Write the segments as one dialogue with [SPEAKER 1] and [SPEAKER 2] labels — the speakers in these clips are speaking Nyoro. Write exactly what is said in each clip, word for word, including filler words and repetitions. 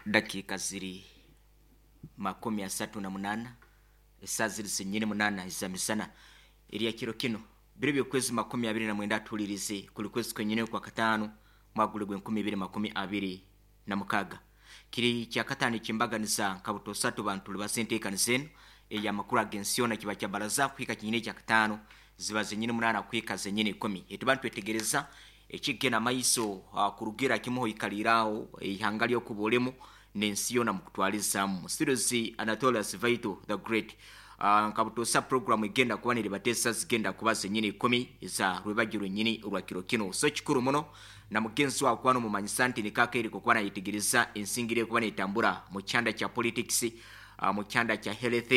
[SPEAKER 1] Dakiika ziri makumi asatu na munana, esaa ziri zenyini munana eza misana erya kiro kino biro byokwezi makumi abiri na mwenda, tuhulirize kuli kwezi kwenyini kwa kataano, mwaka guli gw'enkumi ibiri makumi abiri na mukaaga. Kiri kyakataano ekyembaganiza nka butosatu bantu libasa enteekaniza enu ey'amakuru ag'ensi yoona, kiba kya baraza kuhika kinyini ekyakataano, ziba zenyini munaana kuhika zenyini ikumi. Etuba nitwetegereza ekigenda maiso uh, kurugira kimuho ikaliraaho eihanga lyokuba olimu n'ensi yoona mukutwalizaamu. Studios, Anatolius Vaito the Great. uh, nka butosa program egenda kuba neribateesa zigenda kuba zenyini ikumi eza rwebagyo rwenyini orwa kiro kino. So kikuru muno na mugenzi wawe kuba nomumanyisa nti nikakeereko kuba nayetegereza ensingire ekuba netambura mu kyanda kya politics, uh, mu kyanda kya health.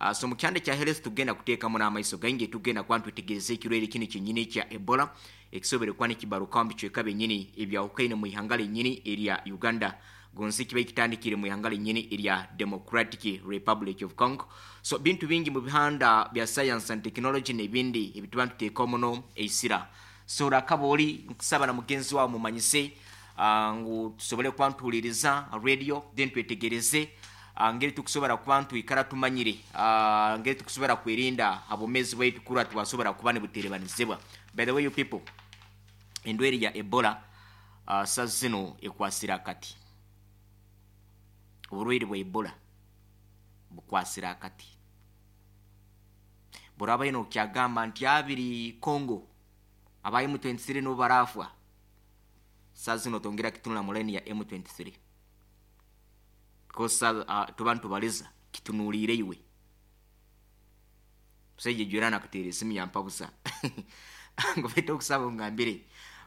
[SPEAKER 1] uh, so mu kyanda kya health tugenda kuteekamu n'amaiso gaingi, tugenda kuba ntwetegereza ekirwaire kino kyenyini ekya Ebola ekisobere kuba nikibarukaho mu bicweka byenyini ebyahukaine mu ihanga lyenyini erya Uganda, gonsi kiba kitandikire mu ihanga lyenyini erya Democratic Republic of Congo. So bintu bingi mu bihanda bya science and technology n'ebindi ebituba ntuteekaho muno eisira. So rakaba oli nkusaba na mugenzi wawe mumanyise uh, ngu tusobole kuba ntuhuliriza radio, then twetegereze uh, ngeri tukusobora kuba ntwikara tumanyire uh, ngeri tukusobora kwerinda abomezi bwaitu kurwa twasobora kuba nibuterebanizibwa. By the way, you people, endwaire ya Ebola uh, sa zino ekwasira akati. Oburwaire bwa Ebola bukwasira akati. Buraba ino kyagamba nti abiri Congo aba M twenty-three nibo barafwa, saa zino tongera kitunula mu line ya M twenty-three, because uh, tuba ntubaliza kitunuulire iwe. Musajja jwera nakuteera esimu yampabusa ngu baita okusaba ngambire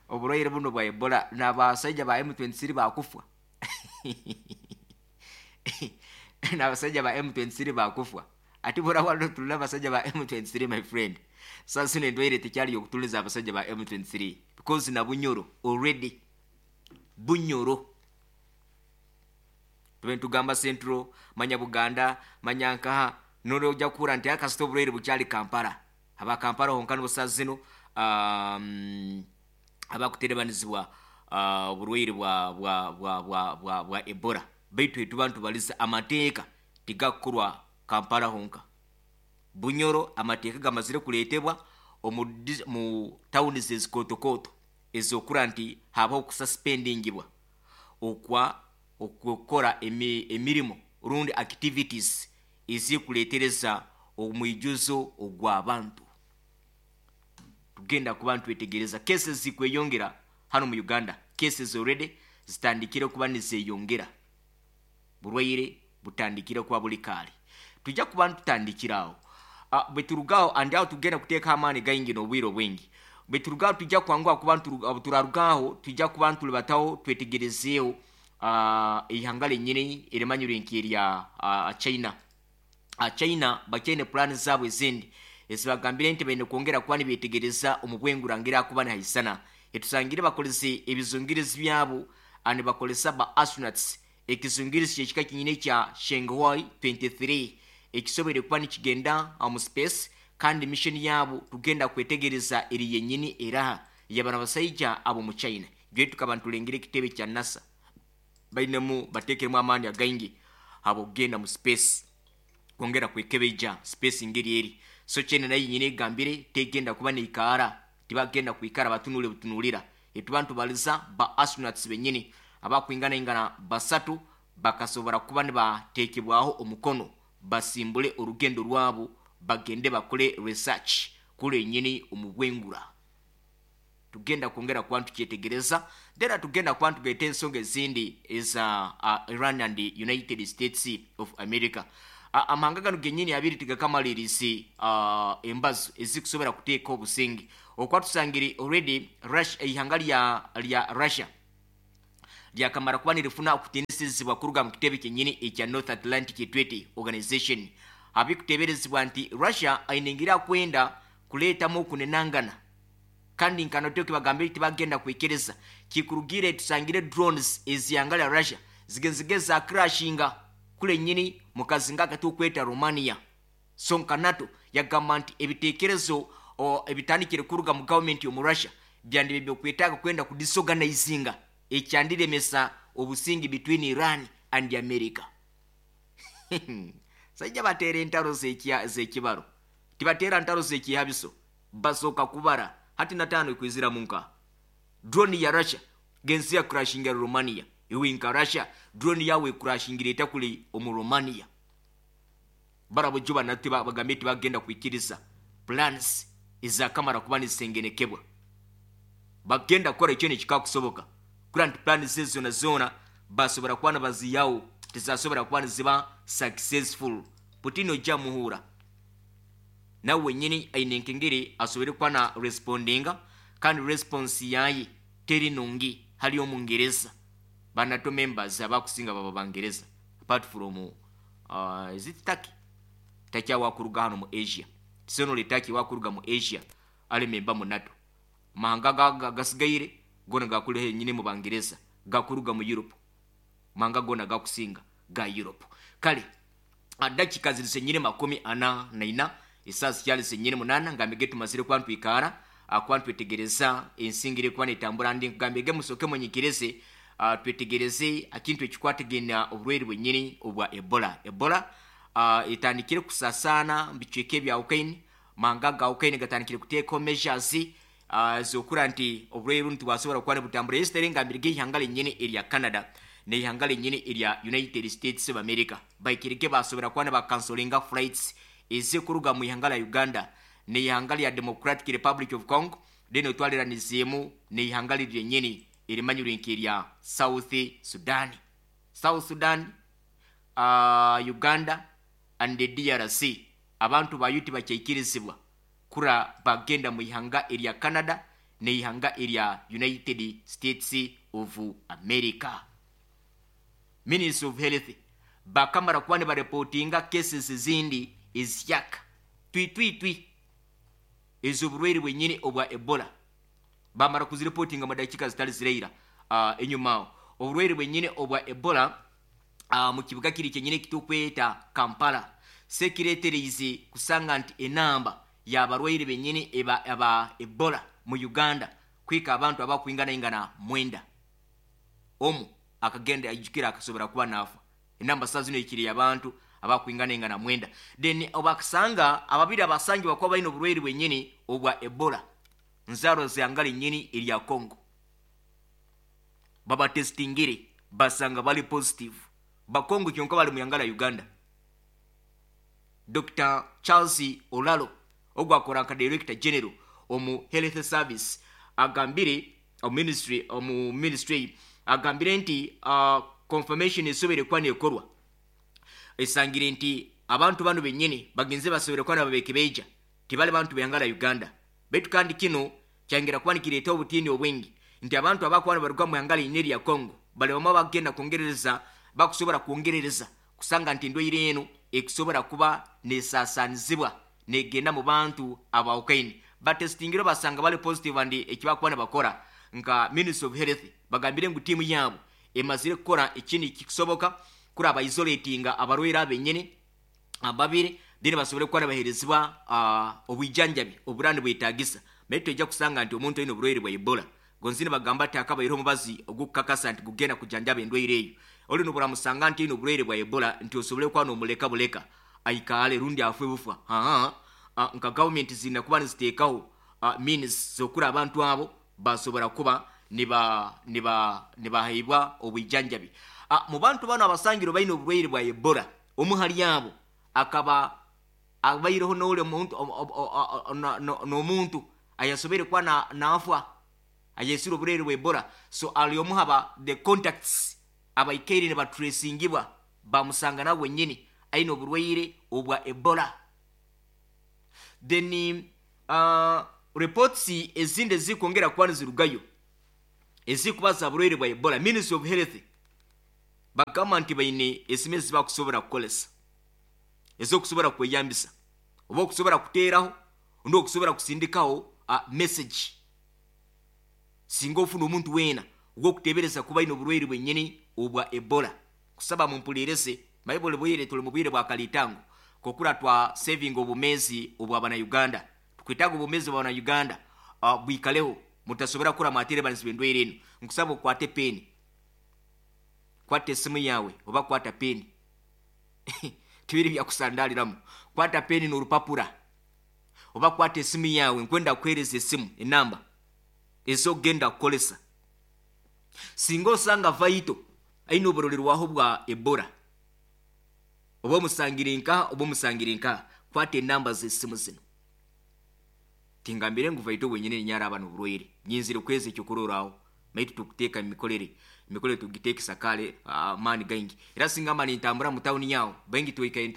[SPEAKER 1] oburwaire buno bwa Ebola n'abasajja ba M twenty-three bakufwa, n'abasajja ba M twenty-three bakufwa. Ati bora wano tulina abasajja ba M twenty-three. My friend, sasa zino endwaire tekyali yokutuliza abasajja ba M twenty-three, because na Bunyoro already, Bunyoro tube ntugamba Central, manya Buganda, manya nkaha nolojja kuhura nti akasita obulwaire bukyali Kampala, aba Kampala honka nibo saa zino um, abakuterebanizibwa uh, oburwaire bwa, bwa, bwa, bwa, bwa, bwa Ebola. Baitu etuba ntubaliza amateeka tigakukorwa Kampala honka. Bunyoro amateeka gamazire kuleetebwa omu dis- mu tawuni zezikotokooto ezokura nti habaho okususpendingibwa okwa okukora emi, emirimu rundi activities ezikuleetereza omwijuzo ogw'abantu. Tugenda kuba ntwetegereza cases zikweyongera hano mu Uganda. Cases already zitandikire kuba nizeyongera, burwaire butandikire kuba buli kaali. Tujja kuba ntutandikirawo uh, bwe turugaho andi aho tugenda kuteeka amaani gaingi n'obwire obwingi. Bwe turugaho tujja kwanguha kuba nturu- turarugaho tujja kuba ntulibataho twetegerezeeho uh, ihanga lyenyini erimanyirwe nk'erya uh, China. uh, china bakyaine pulaani zaabwe ezindi ezibagambire nti baine kwongera kuba nibetegereza omu bwengura ngeri akuba nihaisana. Etusangire bakolese ebizungirizi byabo, ah, nibakolesa ba astronauts, ekizungirizi kyekika kinyini ekya Chang'e twenty-three ekisobere kuba nikigenda mu space, kandi mission yabo tugenda kwetegereza eri yenyini eraha yabana basaija abo mu China. Gwe tukaba ntulengera ekitebe kya NASA bainemu batekeremu amaani againgi abo kugenda mu space kwongera kwekebeija space ngeri eri. So China nayo nyine egambire tegenda kuba neikaara, tibagenda kwikara batunule butunulira. Etuba ntubaliza ba astronauts benyini abakwingana ingana basatu bakasobora kuba nibatekebwaho omukono basimbule orugendo rwabo bagende bakole research kule nyini omu bwengura. Tugenda kwongera kuba ntukyetegereza dera, tugenda kuba ntugaita ensonga ezindi eza uh, Iran and United States of America. uh, amahanga gano genyini abiri tigakamalirisi uh, embazo ezikusobora kuteeka obusingi okuba tusangire already Russia, ihanga lya, lya Russia lyakamara kuba nirifuna okutinisizibwa kuruga mu kitebe kyenyini ekya North Atlantic Treaty Organization. Abikuteberezebwa nti Russia ainengira kwenda kuleetamu okunenangana, kandi nkanote kibagambire tibagenda kwikiriza kikurugire. Tusangire drones ezihanga lya Russia zigenzige za crashinga kule nyini mukazinga akatukweta Romania. So nka NATO yagamba nti ebitekerezo ebitandikire kuruga mu gavumenti omu Russia byandi byokwetaaga kwenda kudisorganizinga ekyandiremesa obusingi between Iran And America sajja bateera entalo z'ekibaro, tibateera ntalo z'ekihabiso, basooka kubara. Hati nataano ekwizira munka drone ya Russia gensi ya crashingira Romania. Iwe nka Russia, drone yawe ecrashingira etakuli omu Romania. Barabo nate bagambye tibagenda kwikiriza plans ezakamara kuba nizisengenekebwa. Bagenda kukora ekyo nekikakusoboka kura nti plans ezo zona zona basobora kuba nibaziyawo, tizasobora kuba niziba successful. Putin ojja muhuura nawe wenyini aine enkengere asobore kuba na respondinga, kandi response yaye teri nungi hali omungereza. Ba NATO members abakusinga baba bangereza, apart from uh, is it Turkey? Turkey wakuruga hano mu Asia. Tisonole Turkey wakuruga mu Asia ali member mu NATO. Mahanga gasigaire gona gakulehe nyine mu bangereza, gakuruga mu Europe. Mahanga gona gakusinga ga Europe. Kale dakika ziri senyine makumi ana na ina, isaa zikyali senyine munana. Ngambege tumazire kuba ntwikara akuba ntwetegereza ensingire kuba netambura. Ndi nkugambege musoke munyikirize, uh, twetegereze akintu ekikwatagana oburwaire bwenyini obwa Ebola. Ebola uh, etandikire kusasaana mubicweka ebya Ukraine. Mahanga ga Ukraine gatandikire kuteekaho measures uh, zokura nti oburwaire bunu tibwasobora kuba nibutambura. Yesterday ngambirege ihanga lenyini erya Canada neihanga lenyini erya United States of America baikirike basobora kuba nibakansolinga flights ezikuruga mu ihanga lya Uganda neihanga lya Democratic Republic of Congo, then otwaliranizeemu neihanga liryenyini erimanyirwe nk'erya South Sudan. South Sudan, uh, Uganda and the D R C, abantu bayo tibakyaikirizibwa kura bagenda mu ihanga erya Canada neihanga erya United States of America. Ministry of Health bakamara kuba nibareportinga cases ezindi ezihyaka twitwitwi ez'oburwaire bwenyini obwa Ebola. Bamara kuzireportinga mu dakika zitali zireira uh, enyuma aho. Oburwaire bwenyini obwa Ebola uh, mu kibuga kiri kyenyini ekitukweta Kampala sekireetereize kusanga nti enamba y'abarwaire benyini eba, aba Ebola mu Uganda kwika abantu abakwinganaingana mwenda. Omu akagenda ajukira akasobora kuba naafa. Enamba saa zino ekiri abantu abakwinganaingana mwenda. Then obakasanga ababiri abasangibwa kuba balina oburwaire bwenyini obwa Ebola nzaaro zihanga lenyini erya Congo. Babatestingire basanga bali positive. Bakongo kyonka bali mu ihanga lya Uganda. Doctor Charles Olalo ogwakora nka director general omu health service agambire omu ministry omu ministry agambire nti uh, confirmation esobere kuba nekorwa esangire nti abantu bano benyini bagenze basobere kuba nababekebeija tibali bantu behanga lya Uganda. Baitu kandi kino kyangera kuba nikireeta obutiini obwingi nti abantu abakuba nibaruga mu ihanga linyini erya Congo bali bamwe bagenda kwongerereza, bakusobora kwongerereza kusanga nti endwaire eno ekusobora kuba nesasanizibwa negenda mu bantu abawukaine. Batestingire basanga bali positive, and ekibakuba nibakora nka Ministry of Health bagambire ngu tiimu yaabo emazire kukora ekindi kikusoboka kuraba isolatinga abarwaire abenyini ababiri, then basobole kuba nibaherezibwa uh, obwijanjabi oburandi bwetagisa. Naye tojja kusanga nti omuntu alina oburwaire bwa Ebola gonzini bagamba ati akabaire omubazi ogukukakasa nti gugenda kujanjaba endwaire eyo. Oli noburamusanga nti alina oburwaire bwa Ebola nti osobole kuba nomuleka buleka aikaale rundi afwe bufa. Aa, nka gavumenti zirina kuba niziteekaho uh, means zokura abantu abo basobora kuba niba niba nibaheibwa obwijanjabi. uh, mu bantu bano abasangiro balina oburwaire bwa Ebola, omu hali abo akaba abaireho n'oli omuntu n'omuntu ayasobere kuba nafa ayesire oburwaire bwa Ebola. So ali omu haba the contacts abaikaire nibatracingibwa, bamusanga nawe wenyini aine oburwaire obwa Ebola. Then uh, reports ezindi ezikwongera kuba nizirugayo ezikuba za burwaire bwa Ebola, Ministry of Health bagamba nti baine esimu ezibakusobora kukolesa ezokusobora kweyambisa oba okusobora kuteeraho ondi okusobora kusindikaho uh, message singa ofuna omuntu weena ogwokutebereza kuba aine oburwaire bwenyini obwa Ebola. Kusaba mumpulirese maye buli bwire tuli mu bwire bwa kalitango kokura twa saving obumezi obwa bana Uganda. Tukwitaga obumezi bwa bana Uganda uh, bwikaleho mutasobora kura mwatere banisi bendwaire eno. Nkusaba okwate peni. Kwata esimu yawe oba kwata peni. Tibiri byakusandaliramu. Kwata peni n'orupapura oba kwata esimu yawe. Nkwenda kuhereza esimu enamba ezogenda kukolesa singa osanga Vaito aine oburolerwaho bwa Ebola, oba omusangire nkaha oba omusangire nkaha. Kwata enamba z'esimu zino. Tingambire ngu Vaito wenyine nyaraba n'oburwaire, nyinzire kwezi ekyokurorraho. Maitu tukuteeka emikorere, emikorere tugiteekesa kale amaani gaingi. Era singa mba nintambura mu tawuni yawo, baingi twikaire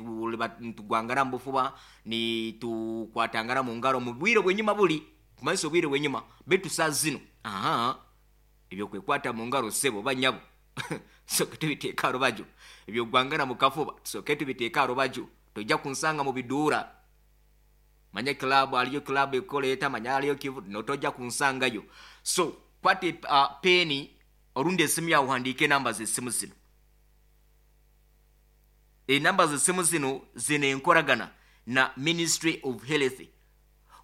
[SPEAKER 1] ntugwangana mu bufuba, nitukwatangana mu ngaro mu bwire bwenyuma, buli kumanyisa obwire bwenyuma. Baitu saa zino aha ebyokwekwata mu ngaro, sebo banyabo, tusoke tubiteeka rubaju. Ebyogwangana mu kafuba tusoke tubiteeka rubaju. Tojja kunsanga mu biduura, manya club aliyo, club ekoleeta, manya aliyo kivu, notojja kunsangayo. So kwata uh, peni orundi esimu yawe, uhandiike enamba z'esimu zino. Enamba z'esimu zino zina enkoragana na Ministry of Health.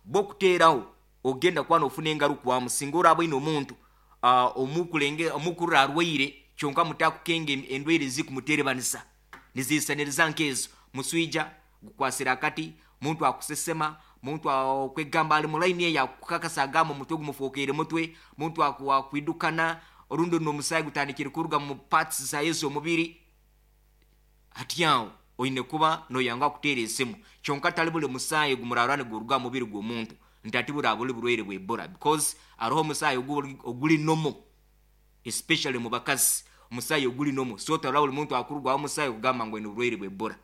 [SPEAKER 1] Bwokuteeraho ogenda kuba nofuna engarukwamu singa oraba oine omuntu uh, omukulenge omukurra arwaire, kyonka mutakukenga endwaire zikumuterebanisa niziisaniriza nkezo: muswija gukwasira akati, muntu akusesema, muntu akwegamba ali mulaini eyo akukakasa agamba omutwe gumufokeire mutwe, muntu akwidukana, orundi n'omusaayi gutandikire kuruga mu parts zaye z'omubiri. Hati aho oine kuba noyanga kuteera esimu. Kyonka tali buli musaayi gumurarwa niguruga mu mubiri gw'omuntu nti ati buri buli burwaire bwa Ebola, because hariho omusaayi oguli normal, especially mu bakazi, omusaayi oguli normal. So tarora buli muntu akurugwaho omusaayi okugamba ngu aine oburwaire bwa Ebola,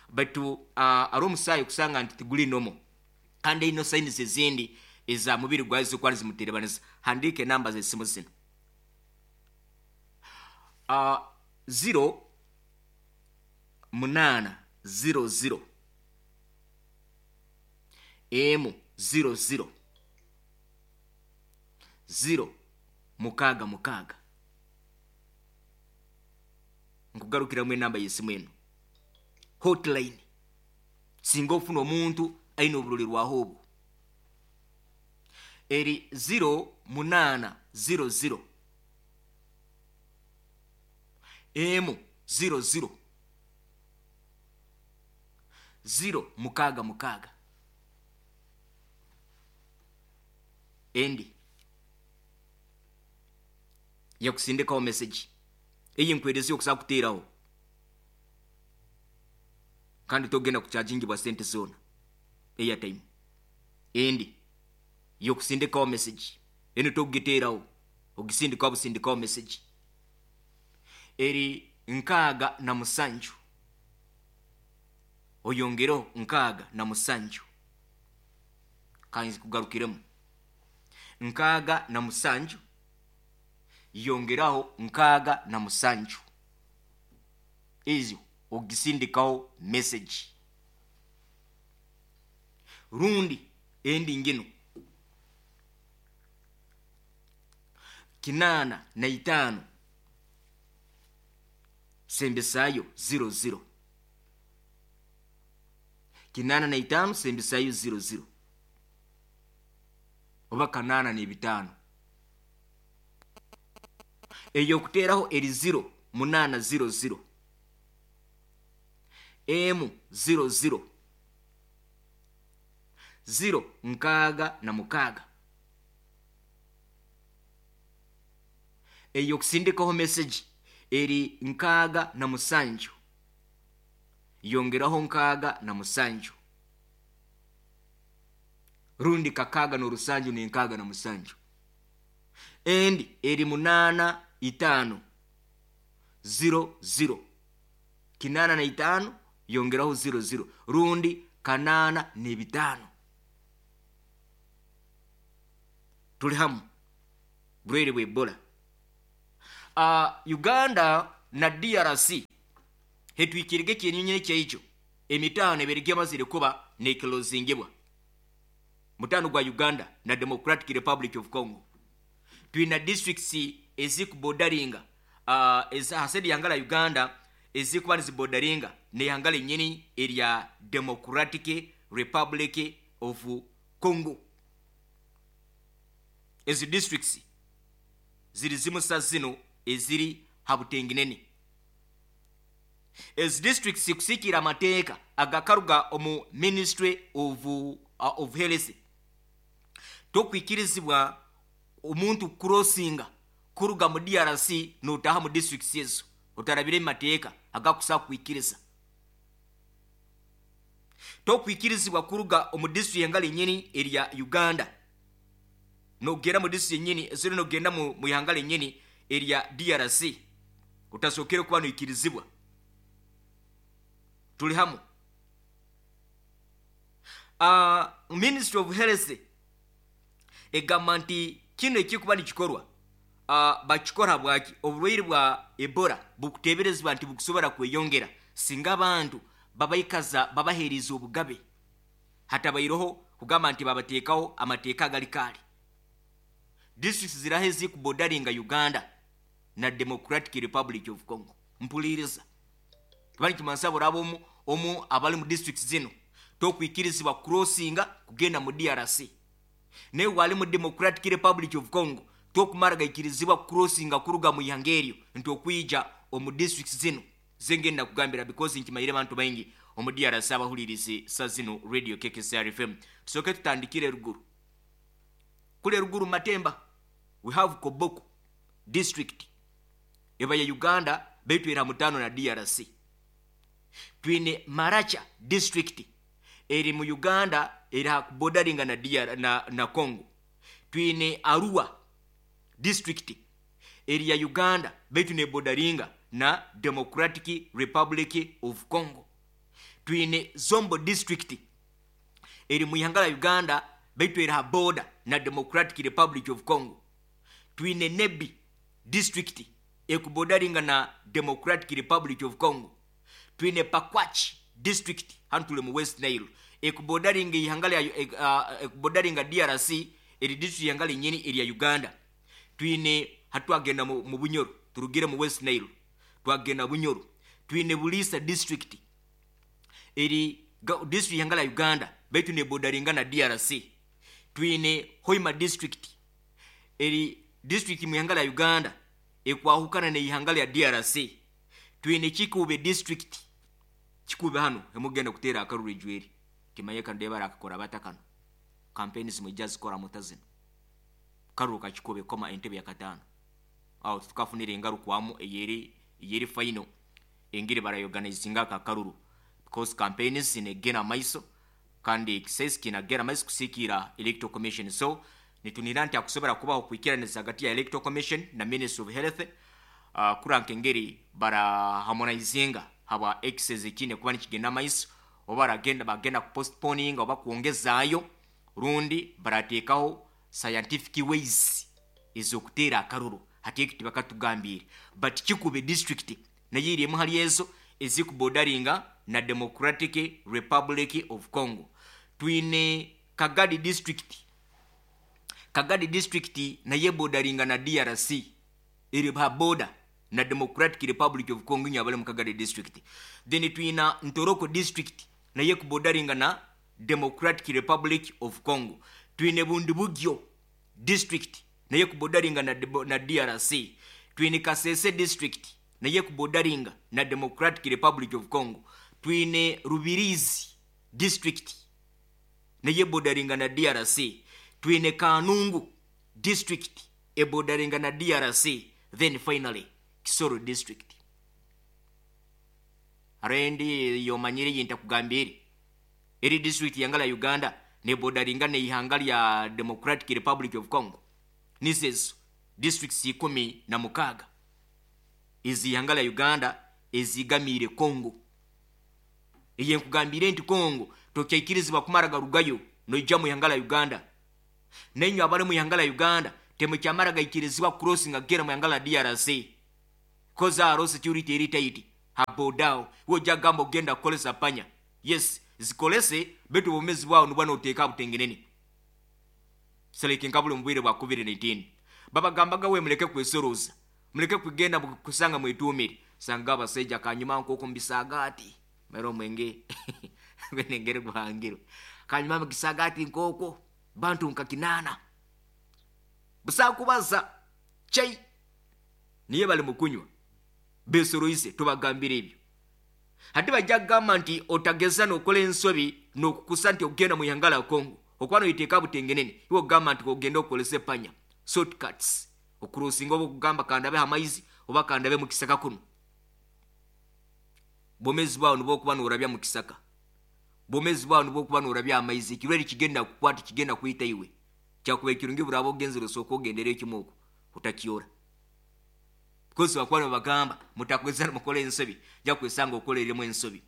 [SPEAKER 1] but uh, hariho omusaayi okusanga nti tiguli normal kandi ino signs ezindi eza mubiri gwawe zikuba nizimuterebanisa. Handiika enamba z'esimu zino: uh, zero munaana zero zero emu zero zero zero mukaaga mukaaga. Nkugarukiramu enamba y'esimu eno, hotline, singa ofuna omuntu aine oburolerwaho obwo, eri zero munaana zero zero emu zero zero zero mukaaga mukaaga. Endi yakusindikaho message eyi nkwerezi okusa kuteeraho, kandi togenda kuchajingibwa sente zona, airtime. Endi yokusindikaho message eno togiteeraho, ogisindikaho busindikaho message, eri nkaaga na musanju oyongereho nkaaga na musanju. Kanzi kugarukiremu: nkaaga na musanju yongeraho nkaaga na musanju. Ezo ogisindikaho message. Rundi endi ngino: kinaana na itaano sembesayo zero zero, kinaana na itaano sembesayo zero zero, oba kanaana n'ebitaano. Eyo okuteeraho eri zero munaana zero zero emu zero zero zero nkaaga na mukaaga. Eyo okusindikaho message eri nkaaga na musanju yongeraho nkaaga na musanju, rundi kakaaga n'orusanju n'enkaaga na musanju. Endi eri munaana itaano zero zero, kinaana na itaano yongeraho zero zero, rundi kanaana n'ebitaano. Tuli hamu, burwaire bwa Ebola. Uh, Uganda na D R C hetwikirige ekinyonyi ekyaikyo emitaano ebiri gyamazire kuba nekilozingibwa. Mutaano gwa Uganda na Democratic Republic of Congo, twina districts ezikubodaringa uh, ezahasedi yangala Uganda ezikuba nizibodaringa neyangala enyini erya Democratic Republic of Congo. Ezi districts ziri zimusa zino eziri habutenginene. Ezi districts kusikira amateeka agakaruga omu Ministry of, uh, of Health, tokwikirizibwa omuntu kucrossinga kuruga mu D R C notaha mu districts ezo otarabire mu mateeka agakusa kwikiriza. Tokwikirizibwa kuruga omu district engalo enyini erya Uganda nogenda mu district enyini eziri, nogenda mu, mu ihanga lenyini erya D R C otasokere kuba noikirizibwa. Tuli hamu? uh, ministry of Health egamba nti kino ekikuba nikikorwa, uh, bakikora bwaki? Oburwaire bwa Ebola bukuteberezebwa nti bukusobora kweyongera singa abantu babaikaza, babaheereza obugabe, hatabaireho kugamba nti babateekaho amateeka agali kaali. Districts ziraho ezikubordering'a Uganda na Democratic Republic of Congo. Mpuliriza, kiba nikimanisa buraba omu omu abali mu districts zino tokwikirizibwa crossinga kugenda mu D R C, naye wali mu Democratic Republic of Congo tokumara gaikirizibwa crossinga kuruga mu ihanga eryo nti okwija omu districts zino zengenda kugambira, because nkimayire abantu baingi omu D R C abahulirizi sa zino Radio K K C R F M. Tusooke tutandikire ruguru kule ruguru Matemba. We have Koboko District, eba ya Uganda baitu era mutano na D R C. Twine Maracha District, eri mu Uganda, eri hakuborderinga na, D R, na, na Congo. Twine Arua District, eri ya Uganda baitu neborderinga na Democratic Republic of Congo. Twine Zombo District, eri mu ihanga la Uganda baitu eri ha border na Democratic Republic of Congo. Twine Nebbi District, ekuborderinga na Democratic Republic of Congo. Twine Pakwach District, hanu tuli mu West Nile, ekuborderinga ihanga lya uh, ekuborderinga D R C, eri district ihanga linyini erya Uganda. Twine hatwagenda mu, mu Bunyoro, turugire mu West Nile twagenda Bunyoro, twine Bulisa District, eri district ihanga la Uganda baitu neborderinga na D R C. Twine Hoima District, eri district mu ihanga la Uganda ekwahukana neihanga lya D R C. Twine Kikuube District. Kikuube hano emugenda kuteera akaruru ejweri timaye kano debara akakora bata kano campaigns mwijja zikora muta zino karuru kakikube koma entebe ya kataano awo tukafunira engarukwamu eyeri eyeri final engeri barayorganizinga aka karuru, because campaigns zinegena maiso kandi ekisesi kinagera maiso kusikira Electoral Commission. So nitunira nti akusobora kubaho kwikiraniza hagati ya Electoral Commission na Ministry of Health, uh, kuranka engeri baraharmonizinga haba exes ekine kuba nikigenda maiso, oba baragenda bagenda kupostponing oba kwongezaayo, rundi barateekaho scientific ways ez'okuteera akaruru. Hati ekyo tibakatugambire, but Kikube District nayo eri emu hali ezo ezikuborderinga na Democratic Republic of Congo. Twine Kagadi District. Kagadi District naye eborderinga na D R C, eri ha border na Democratic Republic of Congo, inyo abali mu Kagadi District. Then twina Ntoroko District, naye kuborderinga na Democratic Republic of Congo. Twine Bundibugyo District, naye kuborderinga na, na D R C. Twine Kasese District, naye kuborderinga na Democratic Republic of Congo. Twine Rubirizi District, naye eborderinga na D R C. Twine Kanungu District, eborderinga na D R C. Then finally Kisoro District. Arendi yomanyire yintakugambire eri district yanga la Uganda neborderinga neihanga lya Democratic Republic of Congo. Nizezo districts ikumi na mukaga ezihanga lya Uganda ezigamire Congo. Eye nkugambire nti Congo tokyaikirizibwa kumara garugayo noija mu ihanga la Uganda, nenywe abali mu ihanga la Uganda temukyamara gaikirizibwa crossing agera mu ihanga la D R C, koza aro security eri tight habodao. Wojja gamba ogenda kukolesa panya, yes, zikolese, betu obumezi bwawo nibwa noteeka butengenene seleke nkabuli mu bwire bwa covid nineteen. Babagambaga we muleke kwesoroza, muleke kugenda kusanga mwetumire, sanga abasajja kanyuma nkoko mbisagati mero omwenge gwenengere guhangiro kanyuma mugisagati nkoko bantu nka kinana busakubaza chai niye bali mukunywa besoroise. Tubagambire ebyo. Hati bajja kugamba nti otageza n'okola ensobi n'okukusa nti okugenda mu ihanga lya Congo okuba noyiteeka butengenene, iwe okugamba nti ogenda okolesa epanya shortcuts okurusinga oba okugamba kandabe amaizi oba kandabe mu kisaka kuno. Bwomezi bwawe nibwo okuba noorabya mu kisaka, bwomezi bwawe nibwo okuba noorabya amaizi, ekirwaire kigenda kukwata, kigenda kwita iwe. Kyakuba ekirungi buraba ogenzere osooka ogendera ekimu okwo utakyora, because bakuba nibabagamba mutakweza mukora ensobi, ja kwesanga okoleremu ensobi.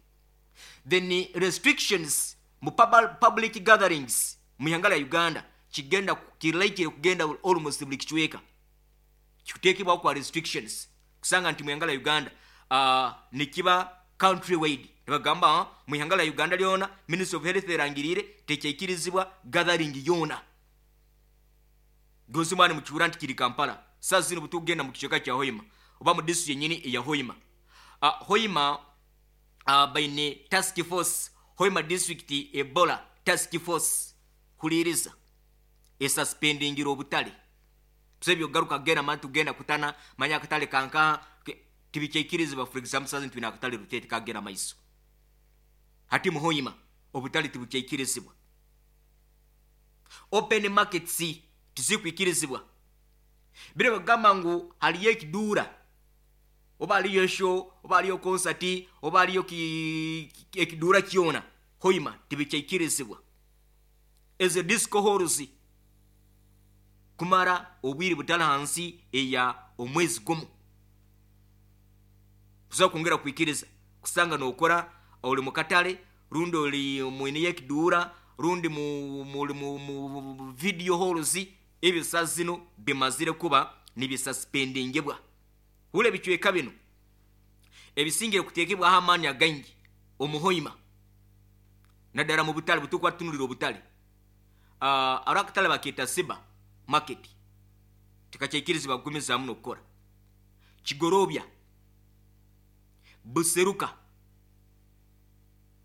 [SPEAKER 1] Then restrictions mu public gatherings mu ihanga lya Uganda kigenda kiraikire kugenda almost buli kicweka kikuteekebwaho kwa restrictions, kusanga nti mu ihanga lya Uganda uh, nikiba country wide. Nibagamba mu ihanga lya Uganda lyona Ministry of Health erangirire tekyaikirizibwa gathering yona. Gozi mwana mukiwura nti kiri Kampala saa zino butugenda mu kicweka kya Hoima oba mu district yenyini eya Hoima. uh, Hoima uh, baine task force, Hoima district Ebola task force, huliriza, esuspendingira obutale. Tusebyo garuka genda mani tugenda kutana manya akatale kanka tibikyaikirizibwa. For example, saa zino twina akatale Rutete kagenda maiso, hati mu Hoima obutale tibukyaikirizibwa, open markets tizikwikirizibwa. Bire bagamba ngu haliyo ekiduura oba haliyo show oba haliyo concert oba haliyo ekiduura kyona, Hoima tibikyaikirizibwa. Ezo disco halls kumara obwire butali hansi eya omwezi gumu tusobola kwongera kwikiriza kusanga nokora oli mukatale rundi oli mwine yekiduura rundi mu, mu, mu, mu video halls, ebyo saa zino bimazire kuba nibisuspendingibwa. Hula ebicweka bino ebisingire kuteekebwaho amaani againgi omuhoima naddala mu butale butukuba tutunulira obutale. uh, ari akatale bakeeta Siba market tikakyaikirizibwa kugumizaamu n'okukora. Kigorobya, Buseruka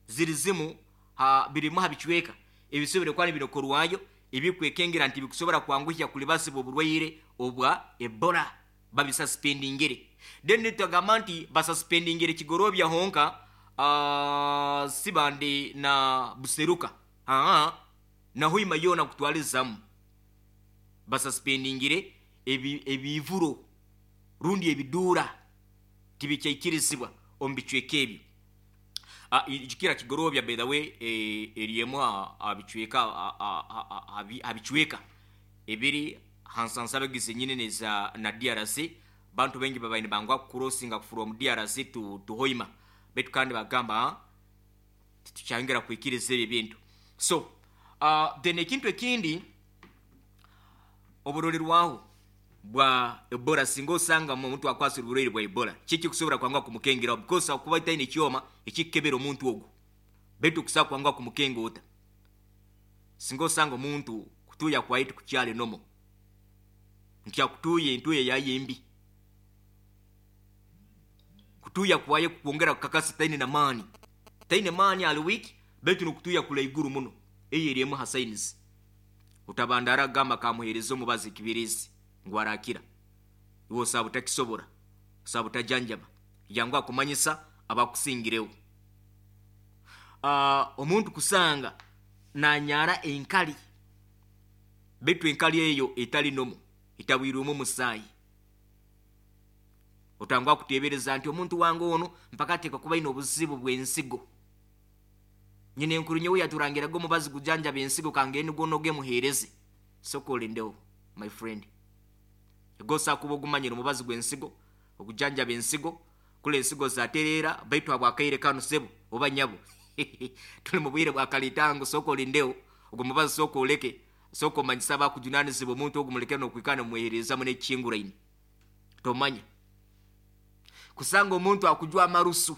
[SPEAKER 1] ziri zimu ha birimu ha bicweka ebisobere kuba nibinokorwayo ebikwekengera nti bikusobora kwanguhya kulibasibwa oburwaire obwa Ebola, babisuspendingire. Then nitugamba nti basuspendingire Kigorobya honka, uh, Sibande na Buseruka, aa na Hoima yona kutwalizamu basuspendingire ebi, ebivuro rundi ebiduura tibikyaikirizibwa omu bicweka ebyo. Jukira Kigorobya by the way eriemu abicweka abicweka ebiri hansansabe zenyine neza na D R C. Bantu bengi babaine bangwa kucrossinga from D R C to, to Hoima, betu kandi bagamba titukyangera kwikiriza ebyo bintu. So uh, then ekintu ekindi oburolerwaho bwa Ebola, singa osanga omuntu akwasira oburwaire bwa Ebola kiki kusobora kwangwa kumukengera, because akuba taine ekyoma ekikebera omuntu ogwo, betu kusa kwangwa kumukenga ota. Singa osanga omuntu kutuya kwaitu kukyale nomo nti akutuye entuye yaye mbi, kutuya kwaye kukwongera kukakasa taine na maani, taine maani ali weak, betu nukutuya kula iguru muno, eyo eriemu ha signs. Utabandara gamba kamuhereza omubazi kibirizi ngu arakira, iwe osaba utakisobora, osaba utajanjaba, yangu akumanyisa abakusingirewo. Uh, omuntu kusanga nanyara enkali, betu enkali eyo etali nomo itabwirwemu omusaayi, otangwa kutebereza nti omuntu wange ono mpaka ateekwa kuba ayina obuzibu bw'ensigo, nyina enkuru nyowe yaturangiraga omubazi gujanjaba ensigo kangende nigwo muhereze. Sooka olindewo my friend, egosa kuba ogumanyira omubazi gw'ensigo ogujanjaba ensigo, kula ensigo zatereera baitu habwakaire kano sebo oba nyabo tuli mu bwire bwa kalitango, sooka olindewo ogwo mubazi, sooka oleke, sooka omanyisa abakujunanizibwa omuntu ogwo muleke n'okwikana mumuheerezamu n'ekikinguraine. Tomanya kusanga omuntu akujwa amarusu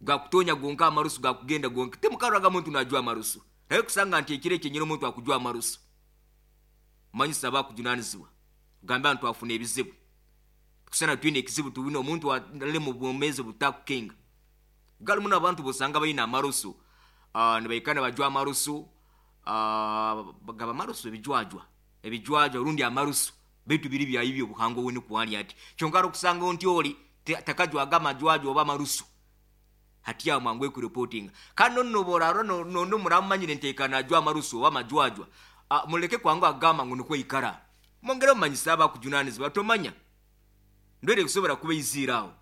[SPEAKER 1] gakutonya gonka, amarusu gakugenda gonka, temukarraga muntu najwa amarusu, naye kusanga nti ekiro ekyenyini omuntu akujwa amarusu, manyisa abakujunanizibwa ogamba nti twafuna ebizibu, kusana twine ekizibu tuwine omuntu ali mu bwomezi butakukenga. Galimu n'abantu bosanga balina amarusu, uh, nibaikana bajwa amarusu, uh, bagaba amarusu ebijwajwa ebijwajwa rundi amarusu, baitu biri byayibyo obuhango weni kwali ati kyonka okusanga nti oli Takajwaga amajwajwa oba amarusu. Hati awo mwangu ekureportinga. Kandi nonno bw'orarora nondo muramumanyire nteekana ajwa amarusu oba amajwajwa, muleke kwangu agamba ngu nikwo ikara. Mwongere mumanyise abakujunaanizibwa, tomanya ndwere kusobora kuba iziire aho.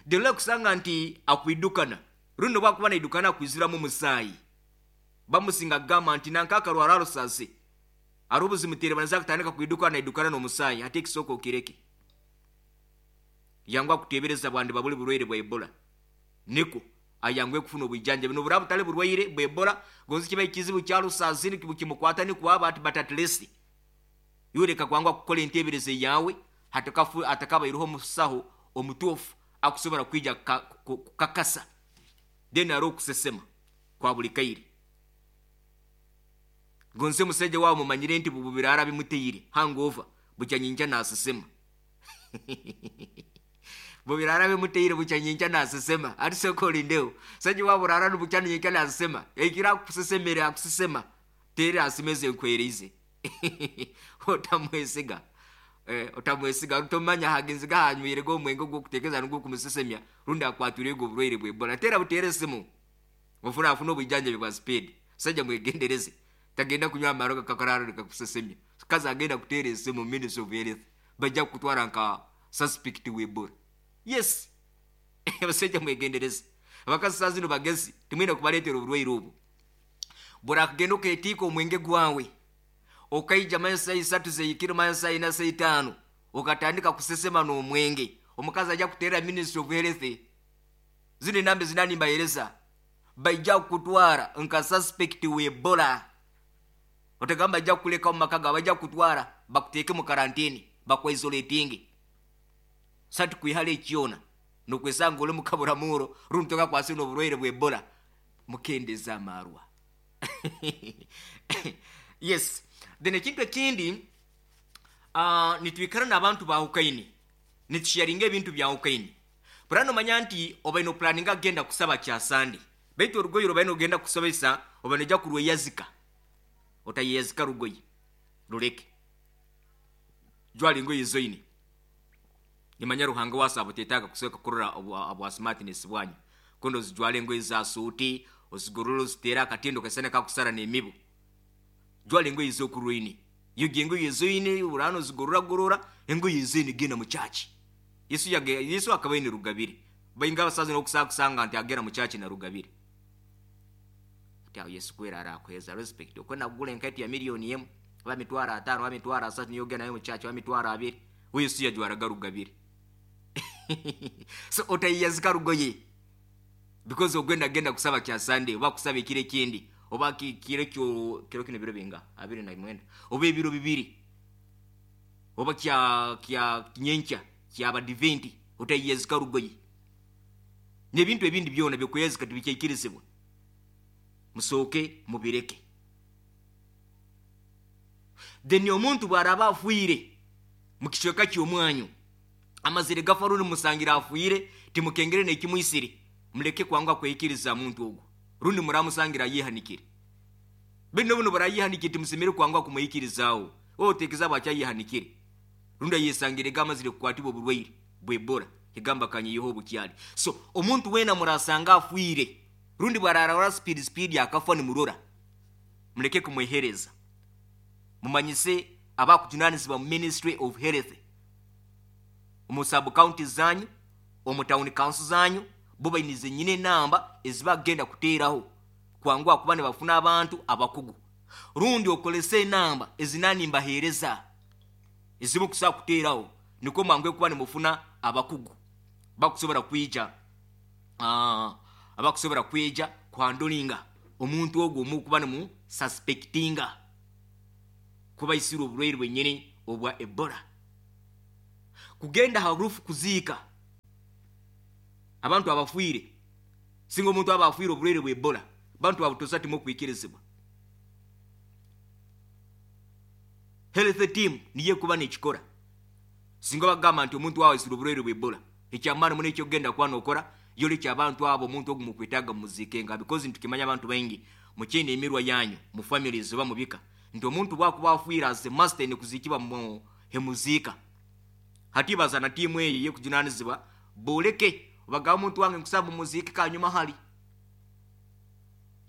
[SPEAKER 1] Dero kusanga nti akwidukana, rundi bwakuba naidukana akwiziramu omusaayi. Bamusinga kugamba nti nanka akarwara arusase, ari obuzimuteere banaza kutandika kwidukana naidukana n'omusaayi, hati ekisooka okireke. Yangu akuteebereza bwandi babuli burwaire bwa Ebola. Niko ayangwe kufuna obwijanja bino buraba butali burwaire bwa Ebola, gonzi kiba ekizibu kya rusazi kimukwata nikwo aba ati but at least yoreka kwangwa kukola enteebereza yawe hatakafu atakabaireho omusaho omutuufu akusobora kwija kukakasa. Then ari okusesema kwa buli kaire. Gonze musajja wawe mumanyire nti bubirara bimuteire hangover bukyanyinja nasesema. Bubirara bimuteire bukyanyinja nasesema. Ati sokolindeo sajja wawe burara bukyanyinja nasesema. Ekira kusesemera akusesema tere asimeze nkwereize. Otamwesiga. Eh, otamwesiga utomanya hagenzi gahanywire go omwenge gwo kutekeza ngo kumusesemya rundi akwature go burwaire bwe Ebola. Tera butere simu ofuna afuna obujanja bwa speed. Sajja mwegendereze, tagenda kunywa amaroga kakararo kakusesemya. Kaza agenda kutera esimu Ministry of Health, bajja kutwara nka suspect we Ebola. Yes. Abasajja mwegendereze, abakazi saa zino bagezi, timwine kubaleetera oburwaire obu. Burakugenda oketiika omwenge gwawe, okaija manya saa isatu zeikiro manya saa ina saa itaano, okatandika kusesema n'omwenge, omukazi ajja kuteera Ministry of Health. Zino enamba zinani mbahereza, baija kukutwara nka suspect we Ebola. Otagamba ajja kukuleka mu maka gawe, bajja kukutwara bakuteeke mu karantini, bakwaisolatinge. Sati kwihala ekyona nokwesanga oli mukaburamuro rundi tokakwase n'oburwaire bwa Ebola. Mukendeza amarwa. Yes. Then ekintu ekindi, uh, nitwikara n'abantu bahukaini, nitusharinga ebintu byahukaini. Burano manya nti obaine oplaninga agenda kusaba kya Sande, baitu orugoye obaine ogenda kusabisa obaine ojja kurweyazika. Otayeyazika rugoye rureke, jwara engoye zoine. Nimanya Ruhanga wasaba otetaaga kusooka kurora obwa smartness bwanyu. Kondo ozijwara engoye za suuti, ozigorora oziteera akatindo kasana kakusara n'emibu. Jwara engoye z'okurwaine, yoga engoye zoine burano ozigorora gorora engoye zoine, genda mu church. Yesu yage, Yesu akaba aine rugabire. Bainga abasaza n'okusaba kusanga nti agenda mu church na rugabire. Ati awo Yesu kwera arakuheza respect. Okwenda kugula enkaito ya miliyoni emu, oba mitwaro ataano, oba mitwaro asatu, niyo ogenda nayo mu church, oba mitwaro abiri. We Yesu yajwaraga rugabire. So otayiyazika rugoye because ogenda genda kusaba kya Sunday oba kusaba ekiro ekindi oba kiro kyo kiro kino biro binga abiri na mwenda oba ebiro bibiri oba kya kya nyenkya ky'abadiventi, otayiyazika rugoye. N'ebintu ebindi byona byokuyazika tibikyaikirizibwa, musooke mubireke. Then omuntu bw'araba afiire mu kicweka ky'omwanyu, amazire gafa rundi musangira afiire, timukengere n'ekimwisire, muleke kwanga kweyikiriza muntu ogwo. Rundi muramusangira ayehanikire. Bino buno barayehanikire, timusemere kwanga kumwikirizaawo. Wowe oteekeza bwakyayehanikire, rundi ayesangire gamazire kukwatibwa oburwaire bwa Ebola, egamba kanyiyeho obukyali. So omuntu weena murasanga afiire, rundi bwararara speed speed akafa nimurora, muleke kumwehereza. Mumanyise abakujunanizibwa mu Ministry of Health, omu sub county zanyu, omu town council zanyu, bo bainize nyine enamba ezibagenda kuteeraho kwanguha kuba nibafuna abantu abakugu. Rundi okolese enamba ezinani mbahereza ezimu kusobola kuteeraho, nikwo mwanguhe kuba nimufuna abakugu bakusobora kwija, uh, abakusobora kwija kuhandolinga omuntu ogwo omukuba nimu suspectinga kuba isire oburwaire bwenyini obwa Ebola. Kugenda ha rufu kuziika abantu abafiire, singa omuntu aba afiire oburwaire bwa Ebola, bantu abutosa timukwikirizibwa. Health team niye kuba nekikora. Singa bagamba nti omuntu wawe isire oburwaire bwa Ebola, ekyamaani muno ekyokugenda kuba nokora yolekya abantu abo omuntu ogu mukwetaaga mumuziikenga, because ntukimanya abantu baingi mukyine emirwa yanyu mu families oba mubika nti omuntu bwakuba afiire as a master ine kuziikibwa mu hemuziika. Hati bazana tiimu eyo ey'okujunanizibwa Boleke obagamba omuntu wange nkusaba mumuziike kanyuma hali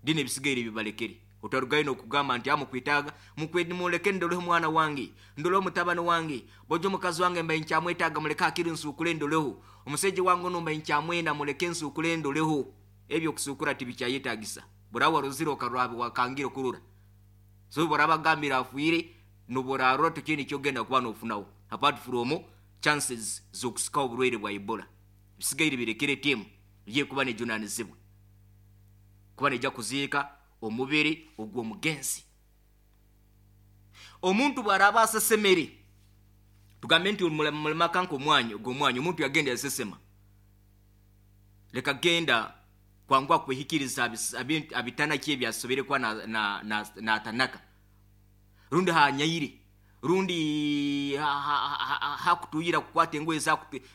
[SPEAKER 1] dini ebisigaire bibalekere. Otarugayo n'okugamba nti amukwetaaga muleke ndoleho omwana wange, ndoleho mutabani wange, bojo omukazi wange mbaye nkyamwetaaga muleke akiri nsuukule ndoleho, omusajja wange ono mbaye nkyamwenda muleke nsuukule ndoleho. Ebyo okusuukura tibikyayetaagisa. Burawa ruzire okarora wakangire kurora. So burabagambira afuire noburarora tukindi kyogenda kuba nofunaho apart from chances z'okusika oburwaire bwa Ebola. Bisigaire birekere timu ye kuba nejunanizibwa kuba nejja kuziika omubiri ogw'omugenzi. Omuntu bw'araaba asesemere, tugambe nti mulimaka nk'omwanya ogw'omwanya omuntu yagenda yasesema, leka genda kwanguha kwehikiriza abitanaki ebyasobere kuba natanaka, rundi hanyaire, rundi hakutuyira kukwata engoye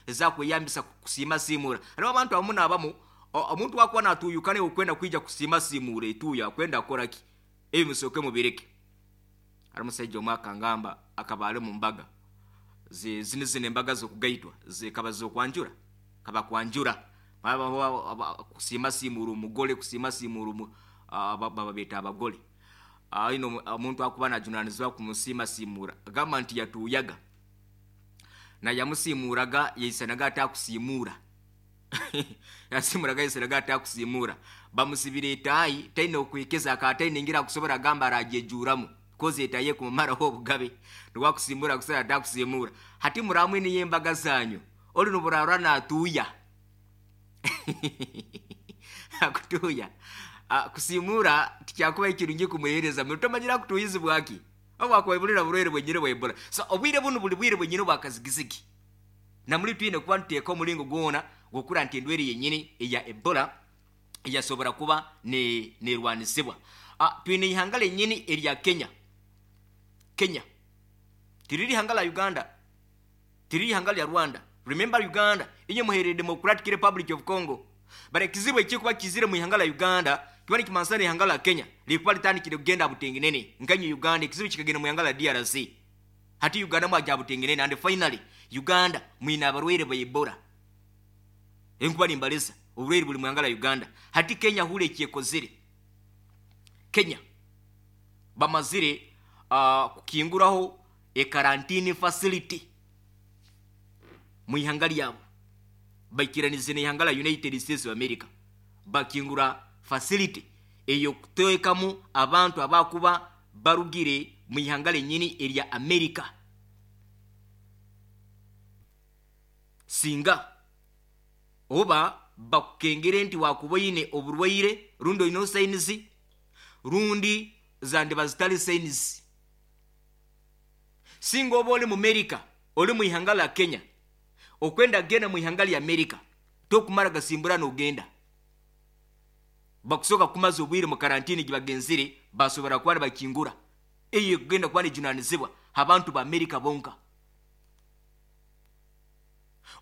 [SPEAKER 1] ezakweyambisa kusiima siimura. Hariho abantu abamu n'abamu omuntu wakuba natuyukane okwenda kwija kusiima siimura etuya akwenda akora ki, ebyo musooke mubireke. Hari omusajja omwe akangamba akaba ali mu mbaga zino zino embaga z'okugaitwa zikaba z'okwanjura, kaba kwanjura kusiima siimura omugole, kusiima siimura baba beeta abagole. Ino omuntu akuba najunanizibwa kumusiima siimura agamba nti yatuuyaga na yamusiimuraga yaisanaga atakusiimura yasimuraga yaisanaga atakusiimura, bamusibira etaayi taine okwekeza akataine ngira akusobora agamba aragyejuramu kozi etaayi ekumumaraho obugabe niwakusiimura akusobora atakusiimura. Hati muramwe niyo embaga zanyu oli noburarora natuuya akutuuya kusiimura tikyakuba ekirungi kumuhereza mutomanyira kutuyizibwaki obu akwebulira burwaire bwenyine bwa Ebola. So obwire bunu buli bwire bwenyine bwakazigizigi namuli twine kuba ntuteeka omulingo gwona gwokura nti endwere yenyini eya Ebola eyasobora kuba nerwanisibwa. Twine ihanga lenyini erya Kenya. Kenya tiriri ihanga la Uganda, tiriri ihanga lya Rwanda. Remember Uganda inye muherere Democratic Republic of Congo, bara ekizibu ekikuba kizire mu ihanga la Uganda kiba nikimansana ihanga la Kenya likuba litandikire kugenda butengenene nkanyo Uganda ekizibu kikagenda mu ihanga la D R C. Hati Uganda mwajja butengenene and finally Uganda mwina abarwaire ba Ebola. Enkuba nimbaleza oburwaire buli mu ihanga la Uganda. Hati Kenya hule ekyekozire. Kenya bamazire uh, kukinguraho e quarantine facility mu ihanga lyabo, baikiranize n'ihanga la United States of America, bakingura facility eyo kuteekamu abantu abakuba barugire mu ihanga lenyini erya America. Singa oba bakukengere nti wakuboine oburwaire rundi oyine signs rundi zandiba zitali signs, singa oba oli mu America oli mu ihanga la Kenya okwenda genda mu ihanga lya America tokumara gasimbura n'ogenda, bakusoka kumaza obwire mu karantini gibagenzire basobora kuba bakingura eyo kugenda kuba nejunanizibwa abantu ba America bonka.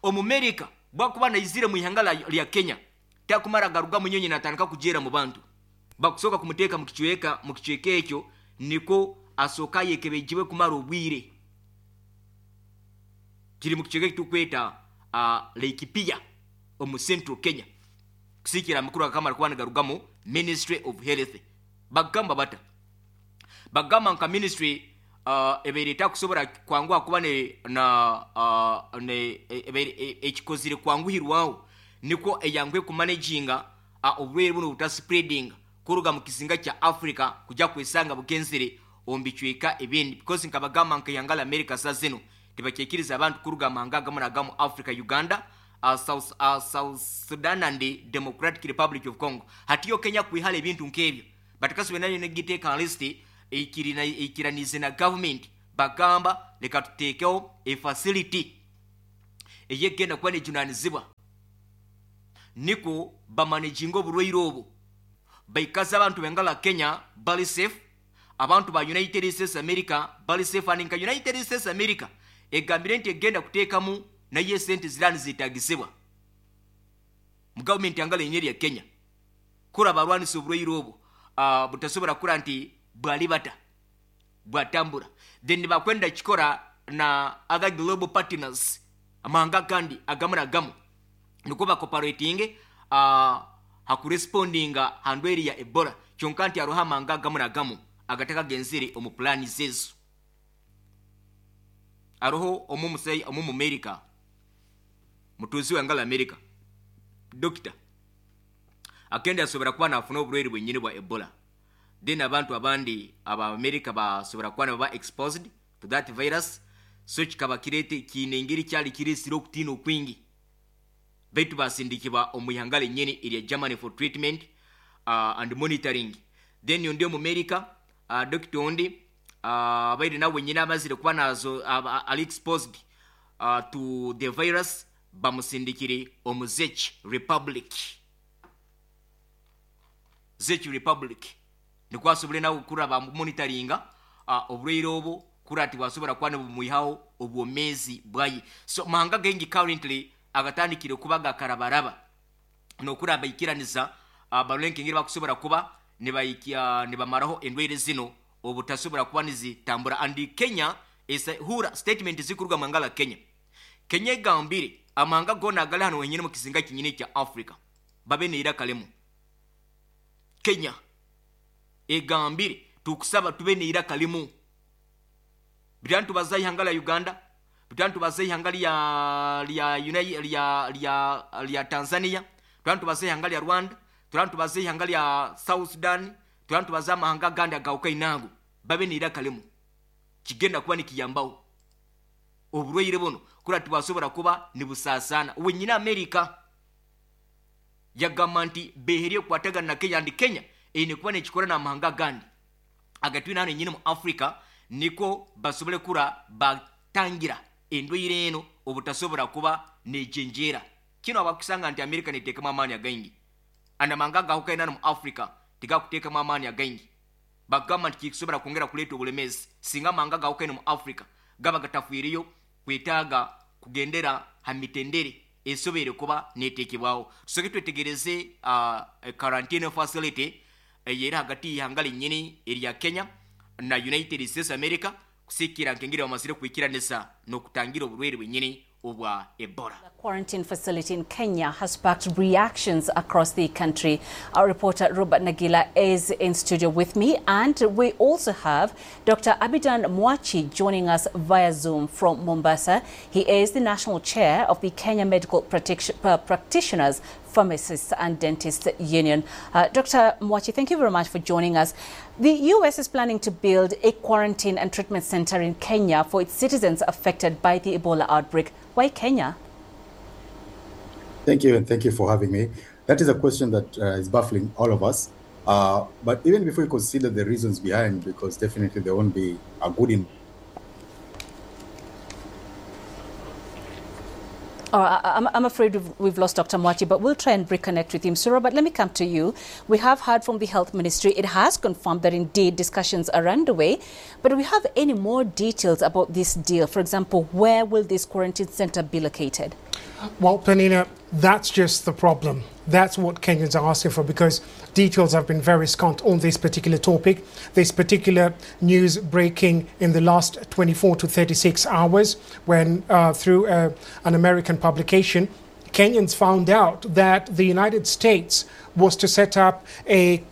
[SPEAKER 1] Omu America bwakuba naizire mu ihanga lya Kenya takumara garuga munyonyi natandika kujera mu bantu, bakusoka kumuteeka mu kichweka mu kichweka ekyo niko asoka yekebejiwe kumara obwire. Kiri mu kichweka kitukweta uh, Laikipia omu Central Kenya kusikira mukuru akamara kuba nagarugamo Ministry of Health. Bagamba bata bagamba nka ministry uh, ebeire takusobora kwanguha kuba ne na uh, ne ebeire ekikozire kwanguhirwaho niko eyangwe kumanaginga uh, oburwaire buno buta spreading kuruga mu kizinga kya Africa kujya kwesanga bugenzere ombicweka ebindi, because nkabagamba nka yangala America sazino tibakekiriza abantu kuruga manga gamu na gamu Africa, Uganda, uh, South, uh, South Sudan and the Democratic Republic of Congo. Hatiyo Kenya kwihale ebintu nkebyo batakasube nayo negiteeka list ikirina ikiranize na government bagamba leka tuteekeo e facility eyegenda kuba nejunanizibwa niko bamanaginga oburwaire obu baikaza abantu bengala Kenya bali safe, abantu ba United States America bali safe. And nka United States America egambire nti egenda kuteekamu naye sente zirani zitagisibwa mu government yangala enyeri ya Kenya kura barwanisa oburwaire obu uh, butasobora kura nti bwali bata bwatambura. Then bakwenda kikora na other global partners amahanga kandi agamu na gamu. Nikwo bacooperatinge uh, hakurespondinga handweri ya Ebola. Kyonka nti aroho amanga gamu na gamu agatakagenzire omu plani zezo. Aroho omu musai omu America, mutuzi wangala America, doctor akenda asobora kuba nafuna oburwaire bwenyini bwa Ebola. Then abantu abandi aba America basobora kuba naba exposed to that virus, so kikaba kirete kiine engeri kyali kiresire okutiina okwingi. Baitu basindikibwa omu ihanga lenyini erya Germany for treatment uh, and monitoring. Then ondi omu America, uh, doctor ondi uh, abaire nawe nyina amazire kuba nazo uh, ali exposed uh, to the virus, bamusindikire omu Czech Republic. Czech Republic nikwo asobole nawe kuraba monitoringa uh, oburwaire obu kura ati bwasobora kuba nibumwihaho obwomeezi bwaye. So mahanga gengi currently agatandikire kuba gakarabaraba nokuraba ikiraniza uh, barulenke ngeri bakusobora kuba nibayikia nibamaraho endwaire zino obutasobora kuba nizitambura. And Kenya is hura statement zikuruga mangala Kenya. Kenya egambire amanga gona agali hano wenyine mu kizinga kinyine kya Africa babe neira kalemu. Kenya egambire tukusaba tube neira kalemu. Bitantu bazai hangala Uganda, bitantu bazai hangali ya ya ya ya ya Tanzania, bitantu bazai hangali ya Rwanda, turantu bazai hangali ya South Sudan, turantu bazama hanga ganda gauka inago babe neira kalemu. Kigenda kuba nikiyambao oburwaire buno kura tibasobora kuba nibusasana. Wenyina America yagamba nti beherie kwatagana na Kenya, and Kenya ine kuba nekikora na mahanga gandi agatwina hano nyine mu Africa niko basobole kura batangira endwaire eno obutasobora kuba nejenjera. Kino abakusanga nti America neteekamu amaani againgi, and amanga gahukaina mu Africa tigakuteekamu amaani againgi. Bagamba nti kikisobora kwongera kuleeta obulemezi singa amanga gahukaina mu Africa gaba gatafiiriyo kwetaaga kugendera ha mitendere esobeire kuba neteekebwaho. Tusoke twetegereze uh, quarantine facility eyeri hagati y'ihanga linyini erya Kenya na United States America kusikira nkengere bamazire kwikiranisa n'okutangira oburwaire bwenyini obwa Ebola.
[SPEAKER 2] The quarantine facility in Kenya has sparked reactions across the country. Our reporter Robert Nagila is in studio with me, and we also have Doctor Abidan Mwachi joining us via Zoom from Mombasa. He is the national chair of the Kenya Medical uh, Practitioners, Pharmacists and Dentists Union. Uh, Doctor Mwachi, thank you very much for joining us. The U S is planning to build a quarantine and treatment center in Kenya for its citizens affected by the Ebola outbreak. Why Kenya?
[SPEAKER 3] Thank you, and thank you for having me. That is a question that uh, is baffling all of us. Uh, but even before we consider the reasons behind, because definitely there won't be a good in
[SPEAKER 2] Oh, I, I'm afraid we've, we've lost Doctor Mwachi, but we'll try and reconnect with him. So, Robert, let me come to you. We have heard from the Health Ministry. It has confirmed that indeed discussions are underway. But do we have any more details about this deal? For example, where will this quarantine center be located?
[SPEAKER 4] Well, Penina, that's just the problem. That's what Kenyans are asking for, because details have been very scant on this particular topic. This particular news breaking in the last twenty-four to thirty-six hours when uh, through uh, an American publication, Kenyans found out that the United States was to set up a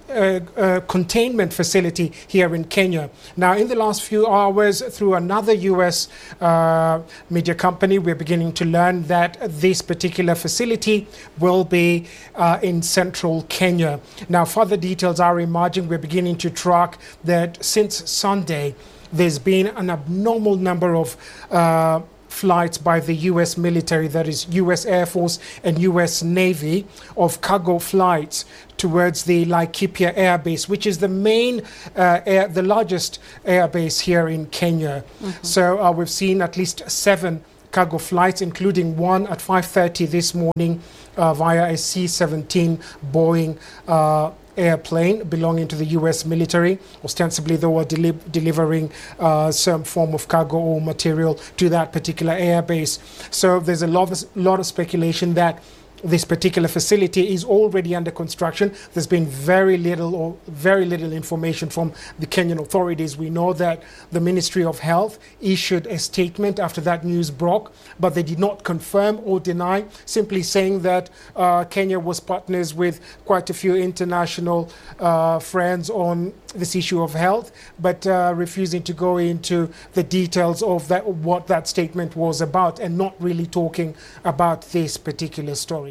[SPEAKER 4] A, a containment facility here in Kenya. Now, in the last few hours, through another U S uh, media company, we're beginning to learn that this particular facility will be uh, in central Kenya. Now, further details are emerging. We're beginning to track that since Sunday, there's been an abnormal number of uh, flights by the U S military, that is U S Air Force and U S Navy, of cargo flights towards the Laikipia Air Base, which is the main, uh, air, the largest air base here in Kenya. Mm-hmm. So uh, we've seen at least seven cargo flights, including one at five thirty this morning uh, via a C seventeen Boeing uh, airplane belonging to the U S military. Ostensibly, they were deli delivering uh, some form of cargo or material to that particular airbase. So there's a lot of, lot of speculation that This particular facility is already under construction. There's been very little or very little information from the Kenyan authorities. We know that the Ministry of Health issued a statement after that news broke, but they did not confirm or deny, simply saying that uh, Kenya was partners with quite a few international uh, friends on this issue of health, but uh, refusing to go into the details of that, what that statement was about, and not really talking about this particular story.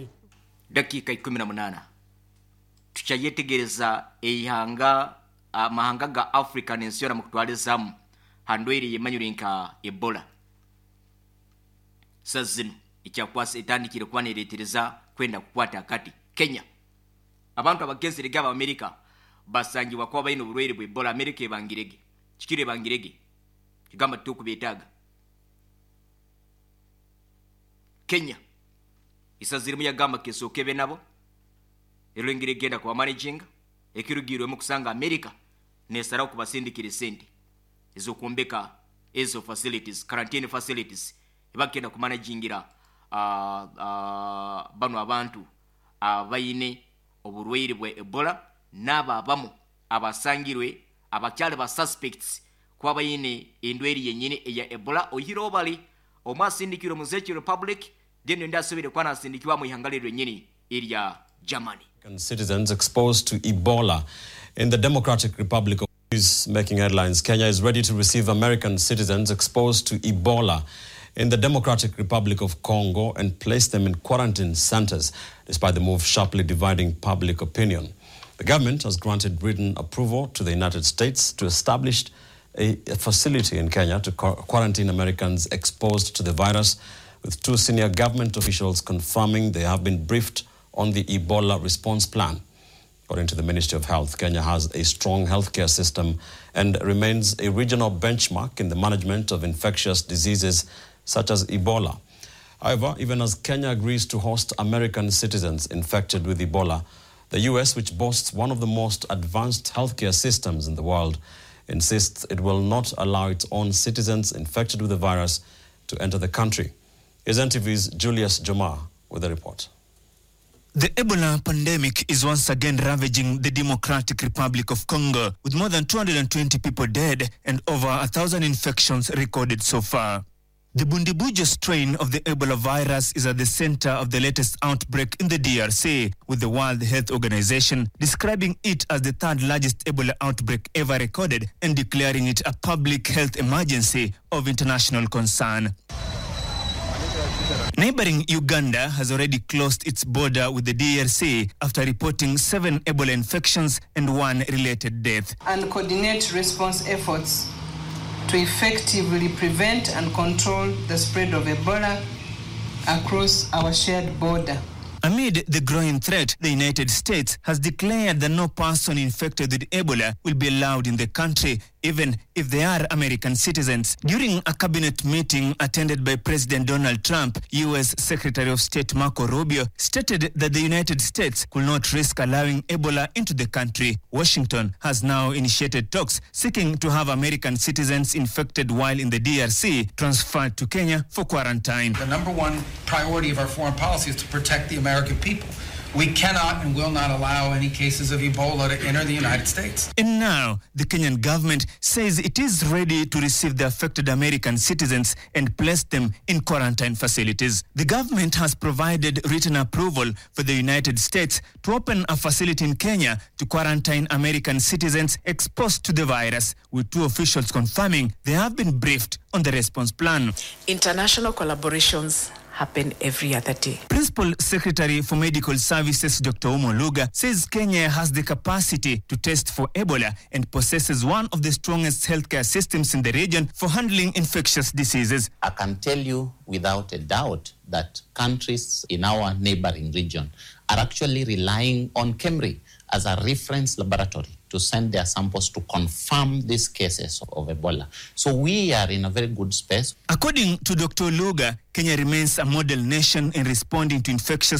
[SPEAKER 1] Dakiika ikumi na munaana tukyayetegereza eihanga amahanga ga Africa n'ensi yona mukutwalizamu handwaire yemanyire nka Ebola. Sa zino ekyakwasa etandikire kuba nereetereza kwenda kukwata akati Kenya. Abantu abagezerege Abamerika basangibwa kuba balina oburwaire bwa Ebola. Amerika ebangirege kikiro ebangirege kigamba tukubeetaaga. Kenya isazirimu yagamba kesooka ebe nabo erwengeri egenda kuba managing ekirugirwemu kusanga America nesarawo kubasindikira esente ez'okwombeka ezo facilities, quarantine facilities, ebagenda kumanagingira uh, uh, bano abantu abayine oburwaire bwa Ebola n'abo abamu abasangirwe abakyali ba suspects kuba bayine endwaire yennyini eya Ebola. Oyihireho bali omwe asindikirwe mu Czech Republic, then ondi asobire kuba nasindikibwa mu ihanga lyennyini erya Germany.
[SPEAKER 5] Citizens exposed to Ebola in the Democratic Republic of is making headlines. Kenya is ready to receive American citizens exposed to Ebola in the Democratic Republic of Congo and place them in quarantine centers, despite the move sharply dividing public opinion. The government has granted written approval to the United States to establish a, a facility in Kenya to quarantine Americans exposed to the virus, with two senior government officials confirming they have been briefed on the Ebola response plan. According to the Ministry of Health, Kenya has a strong healthcare system and remains a regional benchmark in the management of infectious diseases such as Ebola. However, even as Kenya agrees to host American citizens infected with Ebola, the U S, which boasts one of the most advanced healthcare systems in the world, insists it will not allow its own citizens infected with the virus to enter the country. Here's N T V's Julius Jomar with the report.
[SPEAKER 6] The Ebola pandemic is once again ravaging the Democratic Republic of Congo, with more than two hundred twenty people dead and over a thousand infections recorded so far. The Bundibugyo strain of the Ebola virus is at the center of the latest outbreak in the D R C, with the World Health Organization describing it as the third largest Ebola outbreak ever recorded and declaring it a public health emergency of international concern. Neighboring Uganda has already closed its border with the D R C after reporting seven Ebola infections and one related death.
[SPEAKER 7] And coordinate response efforts to effectively prevent and control the spread of Ebola across our shared border.
[SPEAKER 6] Amid the growing threat, the United States has declared that no person infected with Ebola will be allowed in the country, even if they are American citizens. During a cabinet meeting attended by President Donald Trump, U S Secretary of State Marco Rubio stated that the United States could not risk allowing Ebola into the country. Washington has now initiated talks seeking to have American citizens infected while in the D R C transferred to Kenya for quarantine.
[SPEAKER 8] The number one priority of our foreign policy is to protect the American people. We cannot and will not allow any cases of Ebola to enter the United States.
[SPEAKER 6] And now, the Kenyan government says it is ready to receive the affected American citizens and place them in quarantine facilities. The government has provided written approval for the United States to open a facility in Kenya to quarantine American citizens exposed to the virus, with two officials confirming they have been briefed on the response plan.
[SPEAKER 9] International collaborations happen every other day.
[SPEAKER 6] Principal Secretary for Medical Services Doctor Ouma Oluga says Kenya has the capacity to test for Ebola and possesses one of the strongest healthcare systems in the region for handling infectious diseases.
[SPEAKER 10] I can tell you without a doubt that countries in our neighboring region are actually relying on KEMRI as a reference laboratory to send their samples to confirm these cases of Ebola. So we are in a very good space.
[SPEAKER 6] According to Doctor Oluga, Kenya remains a model nation in responding to infectious